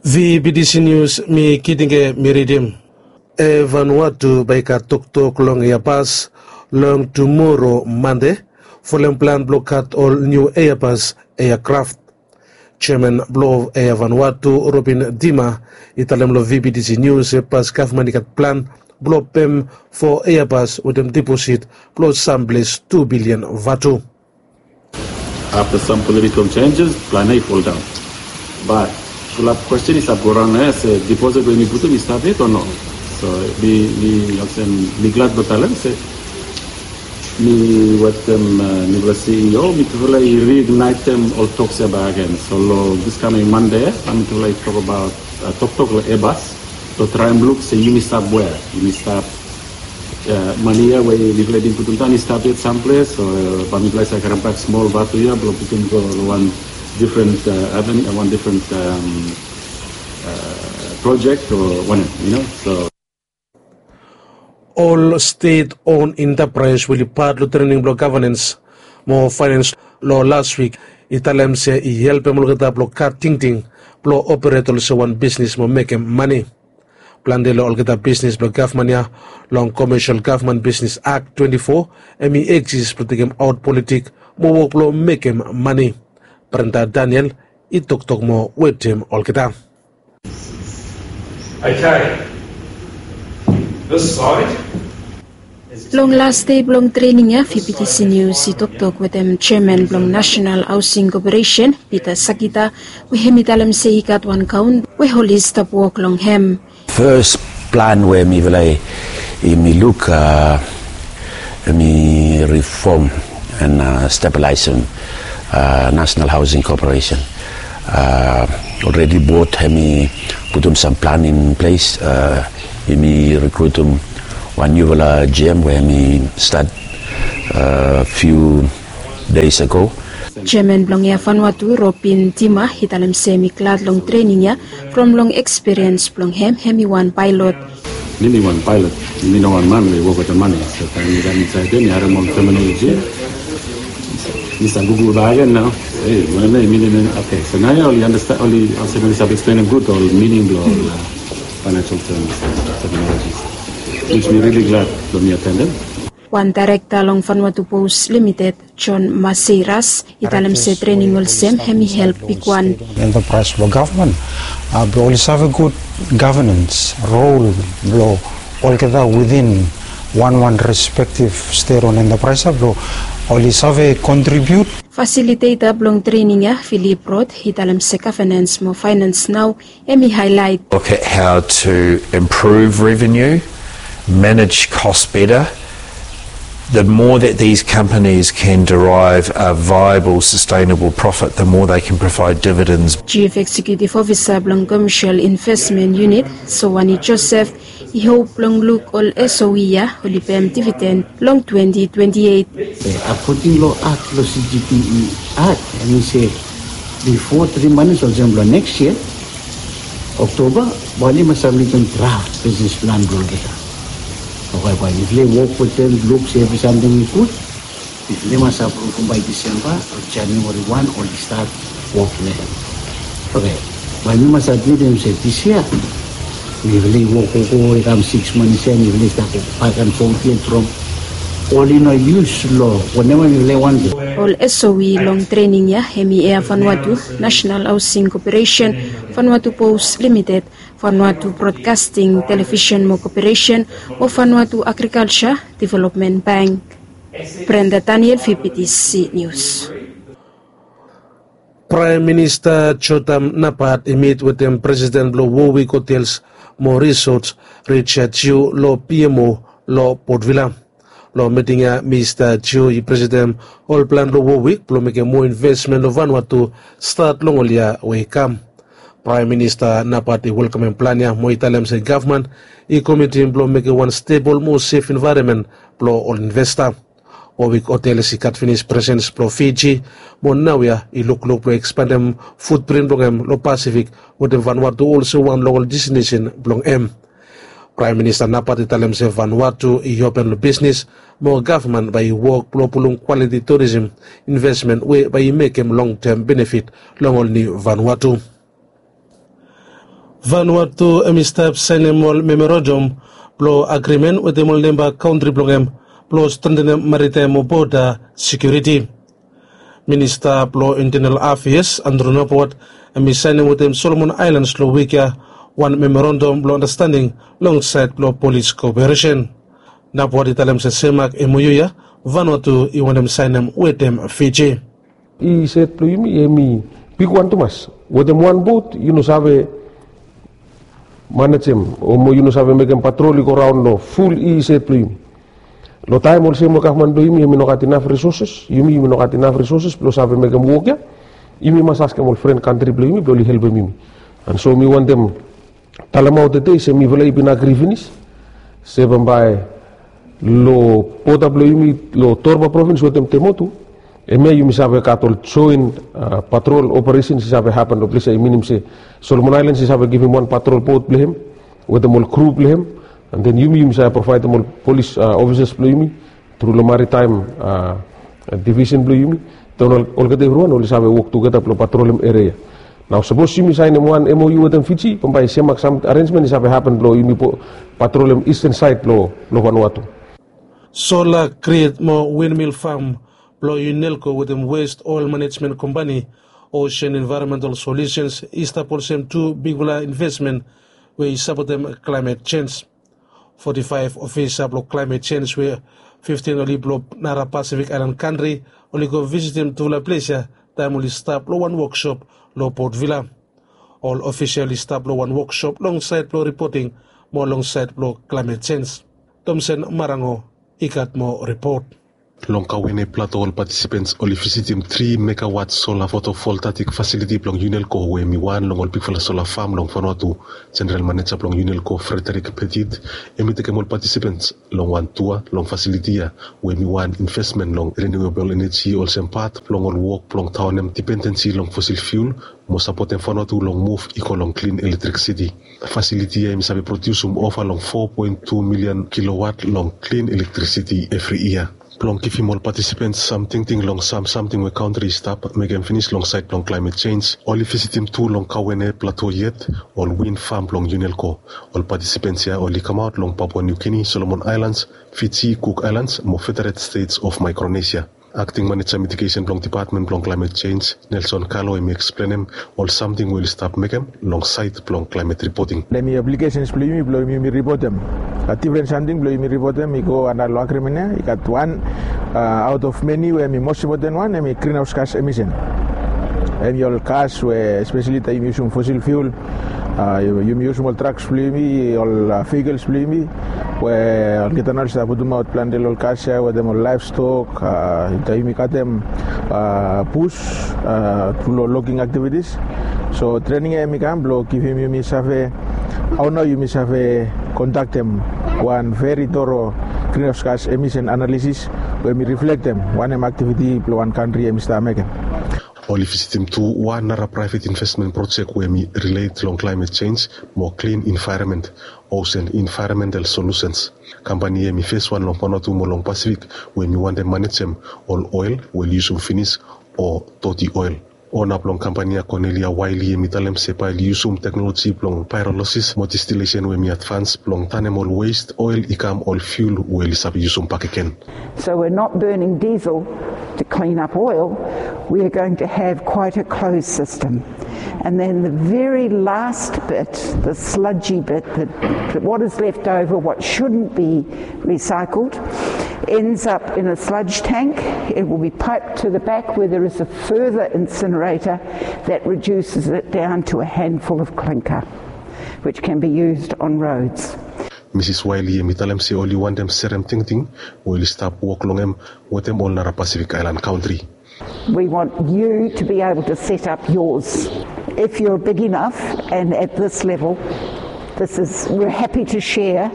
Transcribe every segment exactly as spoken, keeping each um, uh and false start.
V B T C News, mi Kitinge mi ridim. Eya Vanuatu bae i gat toktok long Airbus long tumora Mande folem plan blong gat ol niu Airbus aircraft. Jeaman blong Eya Vanuatu, Robin Dima, i talem long V B T C News se pas gavman i gat plan blong pem fo Airbus wetem diposit blong samples tu bilian vatu. After some political changes, plan A fall down. But fulap question i stap go raon nao ya se deposit we mi putum i stap yet o no. So mi mi olsem mi glad blong talem se mi wetem mifala C E O, mitufala i reignitem ol toks ya bak agen. So long this coming Monday ya, mitufala i tokbaot toktok long Airbus blong traem luk se yumi stap wea, yumi stap mane ya we mifala i bin putum daon i stap yet samples, o bae mifala i save karem bak smol vatu ya blong putum go long wan different aven, wan different project o wanem, you know. So ol stet on entapraes we oli pat long trening blong gavanens mo faenens long las wik i talem se i helpem olgeta blong gat tingting blong operet olsem wan bisnis mo mekem mane. Plante long olgeta bisnis blong gavman ya long Commercial Government Business Act twenti fo hem i eksis blong tekemaot politik mo wok blong mekem mane. Brenda Daniel i toktok moa wetem olgeta. Okay. This side. Long las dei blong trening ya, V B T C News i toktok wetem jeaman blong National Housing Corporation, Peter Sakita, we hem i talem se i gat wan kaon we oli stap wok long hem. Fes plan we mifala i mi luk, a, hem i rifom an stabilizem National Housing Corporation. Olredi bod hem i putum sam plan in ples. Hem i rikrutum wan niufala G M we hem i stat fiu deis ago. Jeaman blong Eya Vanuatu, Robin Dima, i talem se hem i glad long trening ya from long ekspiriens blong hem, hem i wan paelot. Mi mi wan paelot, mi no wan man we i wok wetem mane. So taem mi kam insaed ya mi harem ol teminoloji, mi save gugul bak agen nao. Ei, wanem ya i minim? Okay, so naoia oli andastanem, oli olsem oli save eksplenem gud ol mining blong ol financial terms, terminologies, which mi rili glad blong mi atendem. Wan daerekta long Vanuatu Post Limited, John Maseiras, i talem se trening olsem hem i help bigwan. Enterprise blong gavman blong oli save gud gavanens rol blong olgeta within wanwan respektiv stet on enterprise blong oli save kontribiut. Fasiliteta blong trening ya, Philip Roth, i talem se gavanens mo faenens nao hem i haelaet. Look at how to improve revenue, manage costs better. The more that these companies can derive a viable, sustainable profit, the more they can provide dividends. Chief Executive Officer blong Commercial Investment Unit, Sowani Joseph, i hop blong luk ol S O E ya oli pem dividen long twenti twenti eit. Akoding long akt blong C G P E Act, hem i se bifo tri manis olsem blong neks yia Oktoba, bae oli mas sabmitim draft bisnis plan blong olgeta. Oke, bae mifala i wok wetem, luk se evri samting i gud. Mifala i mas apruvum bae Disemba o Januari wan oli stat wok long hem. Oke, bae mi mas admitim se dis yia mifala i wok, wok, wok i kam sikis manis ya, mifala i stap wok bak an fot yet from oli no yus long wanem we mifala i wantem. Ol S O E long trening ya hem i Eya Vanuatu, National Housing Corporation, Vanuatu Post Limited, Vanuatu Broadcasting, Television mo Corporation, mo Vanuatu Agriculture Development Bank. Brenda Daniel, V B T C News. Praem Minista Jotham Napat i mit wetem presiden blong Warwick Hotels mo Resorts, Richard Chew, long P M O long Port Vila. Long miting ya, Mista Chew i presentem ol plan blong Warwick blong mekem moa invesmen long Vanuatu stat long ol yia we i kam. Praem Minista Napat i welkamem plan ya mo i talem se gavman i komitim blong mekem wan stebol mo sef envaeronmen blong ol investa. Warwick Hotels i gat finis presens blong Fiji, mo naoia i lukluk blong ekspandem futprin blong hem long Pasifik wetem Vanuatu olsem wan long ol destinesen blong hem. Praem Minista Napat i talem se Vanuatu i open long bisnis, mo gavman bae i wok blong pulum kwaliti turisem invesmen we bae i mekem longtem benefit long ol niu Vanuatu. Vanuatu hem i stap saenem ol memorandum blong agrimen wetem ol nemba kantri blong hem blong strentenem maritaem mo boda sekiuriti. Minista blong Intenal Afeas Andrew Nabowat hem i saenem wetem Solomon Aelans long wik ya wan memorandum blong andastanding long saed blong polis koperesen. Nabowat i talem se semak MOU ya Vanuatu i wantem saenem wetem Fiji. I saed blong yumi hem i bigwan tumas. Wetem wan bot yu no save manejem o mo yu no save mekem patrol i go raon long ful i saed blong yumi. Long taem olsem we gavman blong yumi hem i no gat inaf risoses, yumi yumi no gat inaf risoses blong save mekem wok ya. Yumi mas askem ol fren kantri blong yumi blong oli helpem yumi. And so mi wantem talemaot tede se mifala i bin agri finis se bambae long boda blong yumi long Torba provins wetem Temotu, hemia yumi save gat ol joen patrol operesens i save hapen long ples ya, i minim se Solomon Aelans i save givim wan patrol bot blong hem wetem ol kru blong hem. And then yumi yumi save provaedem ol polis ofisas blong yumi tru long maritaem divisen blong yumi. Then olgeta evriwan oli save wok tugeta blong patrolem eria. Nao sapos yumi saenem wan MOU wetem Fiji bambae semak sam arenjmen i save hapen blong yumi patrolem isten saed blong Vanuatu. Sola grid mo windmill fam blong Unelco wetem West Oil Management Company, Ocean Environmental Solutions i stap olsem tu bigfala investmen we i sapotem klaemet jenj. Foti faef ofisa blong klaemet jenj we fiftin oli blong nara Pasifik aelan kantri oli go visitim tufala ples ya taem oli stap long wan woksop long Port Vila. Ol ofisa oli stap long wan woksop long saed blong ripoting mo long saed blong klaemet jenj. Tomsen Marango i gat moa ripot. Long Kauene Plato ol patisipens oli visitim tri megawat sola fotovoltaik fasiliti blong Unelco we hem i wan long ol bigfala sola fam long Vanuatu. Jeneral maneja blong Unelco Frederick Petit hem i tekem ol patisipens long wan tua long fasiliti ya we hem i wan investmen long renewable energy olsem pat blong ol wok blong taonem dipendensi long fosil fiul mo sapotem Vanuatu long muv i go long klin elektrisiti. Fasiliti ya hem i save prodiusum ova long fo poen tu milian kilowat long klin elektrisiti evri yia. Blong givim ol patisipens sam tingting long sam samting we kantri i stap mekem finis long saed blong klaemet jenj, oli visitim tu long Kauene Plato yet ol win fam blong Unelco. Ol patisipens ya oli kamaot long Papua New Guinea, Solomon Aelans, Fiji, Cook Aelans mo Federated States of Micronesia. Akting maneja mitigesen blong dipatmen blong klaemet jenj, Nelson Kalo hem i eksplenem ol samting we oli stap mekem long saed blong klaemet ripoting. Hem i aplikesens blong yumi blong yumi ripotem. A difren samting blong yumi ripotem i go antap long agrimen ya i gat wan aot of meni we hem i mos impoten wan hem i grinhaos gas emisen. Hem i ol gas we espeseli taem yumi yusum fosil fiul, yumi yusum ol traks blong yumi, ol vehikels blong yumi we olgeta nao oli stap putumaot plante long ol gas ya wetem ol laevstok, taem yumi katem bus tru long logging aktivitis. So trening ya hem i kam blong givim yumi save hao nao yumi save kondaktem wan veri toro grinhaos gas emisen analisis we hem i riflektem wanem aktiviti blong wan kantri hem i stap mekem. Oli visitim tu wan nara praevet investmen projek we hem i rilet long klaemet jenj mo klin envaeronmen, Ocean Environmental Solutions. Kampani ya hem i feswan long Vanuatu mo long Pasifik we hem i wantem manejem ol oel we oli yusum finis o doti oel. Ona blong kampani ya Cornelia Wiley hem i talem se bae oli yusum teknoloji blong paerolosis mo distilesen we hem i advans blong tanem ol west oel i kam ol fiul we oli save yusum bakegen. So we're not burning diesel to clean up oil, we are going to have quite a closed system. And then the very last bit, the sludgy bit, the, what is left over, what shouldn't be recycled, ends up in a sludge tank. It will be piped to the back where there is a further incinerator that reduces it down to a handful of clinker, which can be used on roads. Misis Wiley hem i talem se oli wantem serem tingting we oli stap wok long hem wetem ol nara Pasifik aelan kantri. We want you to be able to set up yours. If you're big enough and at this level, this is, we're happy to share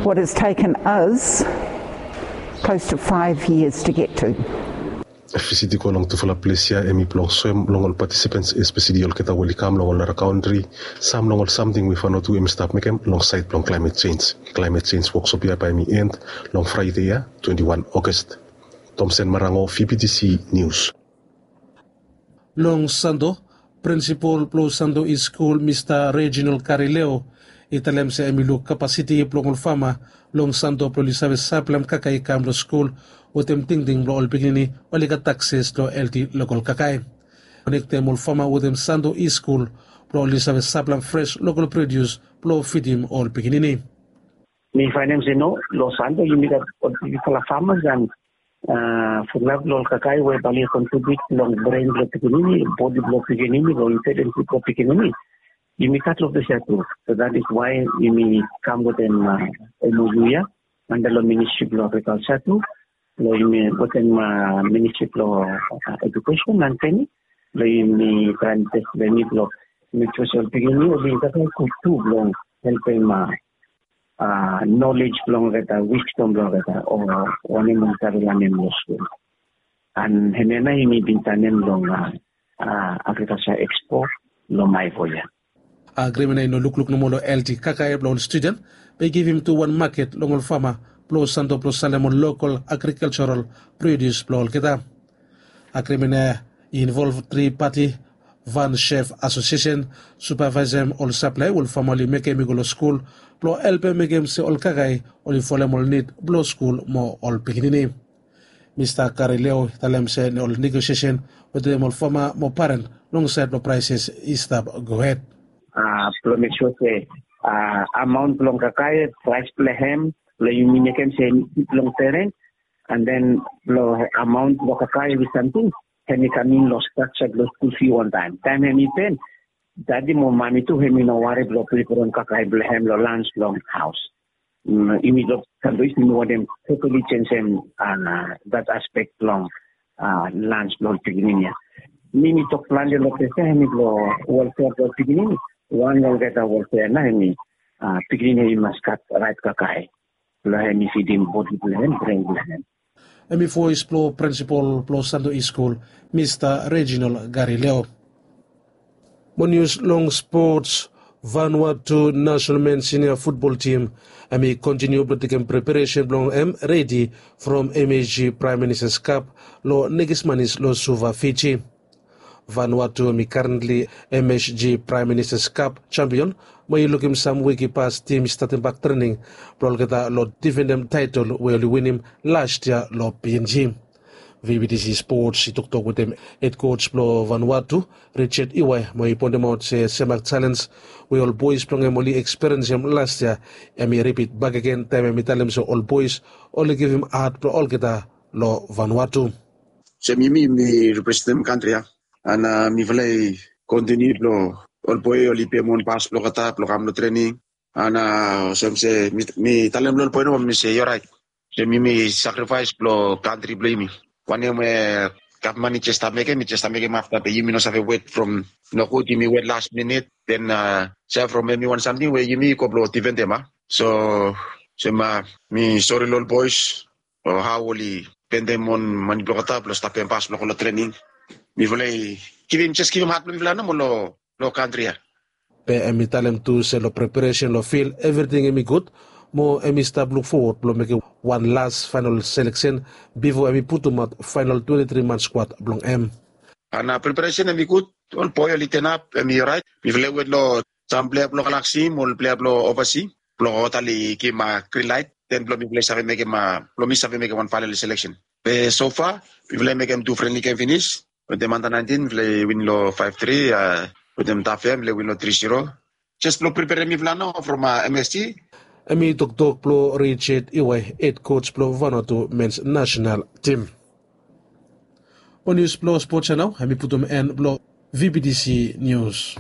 what has taken us close to five years to get to. Visit i go long tufala ples ya hem i blong soem long ol patisipens espeseli olgeta we oli kam long ol nara kantri sam long ol samting we Vanuatu hem i stap mekem long saed blong klaemet jenj. Klaemet jenj woksop ya bae hem i end long Fraede ya, twenti wan August. Tomsen Marango, VBTC News. Long Sando, Prinsipol blong Santo East Skul, Mista Reginald Karileo, i talem se hem i luk kapasiti blong ol fama long Santo blong oli save saplaem kakae i kam long skul wetem tingting blong ol pikinini oli gat akses long helti lokol kakae. Konektem ol fama wetem Santo East Skul blong oli save saplaem fres lokol produs blong fidim ol pikinini. Mi faenem se no, long Santo yumi gat ol bigfala famas and fulap long ol kakae we bae oli kontribiut long bren blong pikinini, bodi blong pikinini, long intelijensi blong pikinini. Yumi gat long ples ya tu. So that is why yumi kam wetem M O U ya anda long Ministri blong Agrikalja tu, blong yumi wetem Ministri blong Edukesen and Trening, blong yumi traem tes blong yumi blong mek sua se ol pikinini oli kakae gud tu blong helpem nolej blong olgeta, wisdom blong olgeta o wanem oli save lanem long skul. And hemia nao yumi bin tanem long Agrikalja Ekspo long Maevo ya. Agrimen ya i no lukluk nomo long helti kakae blong ol studen, be i givim tu wan maket long ol fama blong Santo blong salem ol lokol agrikaljaral produs blong olgeta. Agrimen ya i involv tri pati, Van Chef Asosiesen, supevaesem ol saplae we ol fama oli mekem i go long skul blong helpem mekem se ol kakae oli folem ol nid blong skul mo ol pikinini. Mista Karileo i talem se ol negosiesen wetem ol fama mo paren long saed blong praeses i stap gohed. Blong mek sua se amaon blong kakae, praes blong hem, blong yumi mekem se hem i fit long peren, and then blong amaon blong kakae we samting hem i kam in long strakja blong skul fi wantaem. Taem hem i pe, dadi mo mami tu hem i no wari blong priperem kakae blong hem long lans long haos. Yumi long Santo East yumi wantem totali jenisim dat aspek blong lans blong ol pikinini ya. Mi mi tok plante long ples ya hem i blong welfea blong ol pikinini. Wan long olgeta welfea nao hem i pikinini hem i mas gat raet kakae blong hem i fidim bodi blong hem, bren blong hem. Hem i voes blong prinsipol blong Santo East Skul, Mista Reginald Garileo. Mo nius long spots. Vanuatu nasenal men sinia futbol tim hem i kontiniu blong tekem preparesen blong hem redi from M S G Praem Ministas Kap long nekis manis long Suva, Fiji. Vanuatu hem i karentli M S G Praem Ministas Kap jampion, mo i lukim sam wik i pas tim i statem bak trening blong olgeta long difendem taetol we oli winim las yia long P N G. V B T C Spots i toktok wetem hed koj blong Vanuatu, Richard Iwai, mo i poentemaot se semak jalenj we ol boes blong hem oli ekspiriensim las yia hem i ripit bakegen taem hem i talem se ol boes oli givim had blong olgeta long Vanuatu. Olsem yumi mi representem kantri ya, and mifala i kontiniu blong ol boe oli pem on pas blong olgeta blong kam long trening. And olsem se mi talem long ol boe nomo mi se i oraet. Olsem yumi sakrifaes blong kantri blong yumi. Wanem we gavman i jes stap mekem, i jes stap mekem afta be yumi no save wet from nogud, yumi wet las minit, den se from hemi wan samting we yumi go blong difendem a. So olsem mi sori long ol boes o hao oli pendem on mane blong olgeta blong stap pem pas blong go long trening. Mifala i givim, jes givim had blong mifala nomo long kantri ya. Be hem i talem tu se long preparesen long fil evriting hem i gud, mo hem i stap luk fowod blong mekem wan las faenol seleksen bifo hem i putumaot faenol twenti tri man skwad blong hem. And preparesen hem i gud, ol boe oli tenap, hem i oraet. Mifala i wet long sam plea blong Galaksi mo ol plea blong ovasi blong olgeta oli givim grin laet, den blong mifala i save mekem, blong mi save mekem wan faenol seleksen. Be sofa mifala i mekem tu frenli gem finis. Wetem anda naentin mifala i win long faef tri, wetem Tafea mifala i win long tri ziro. Jes blong preperem mifala nao from M S G. Hem i toktok blong Richard Iwai, hed koj blong Vanuatu mens nasenal tim. Ol nius blong spots ya nao hem i putum en blong V B T C Nius.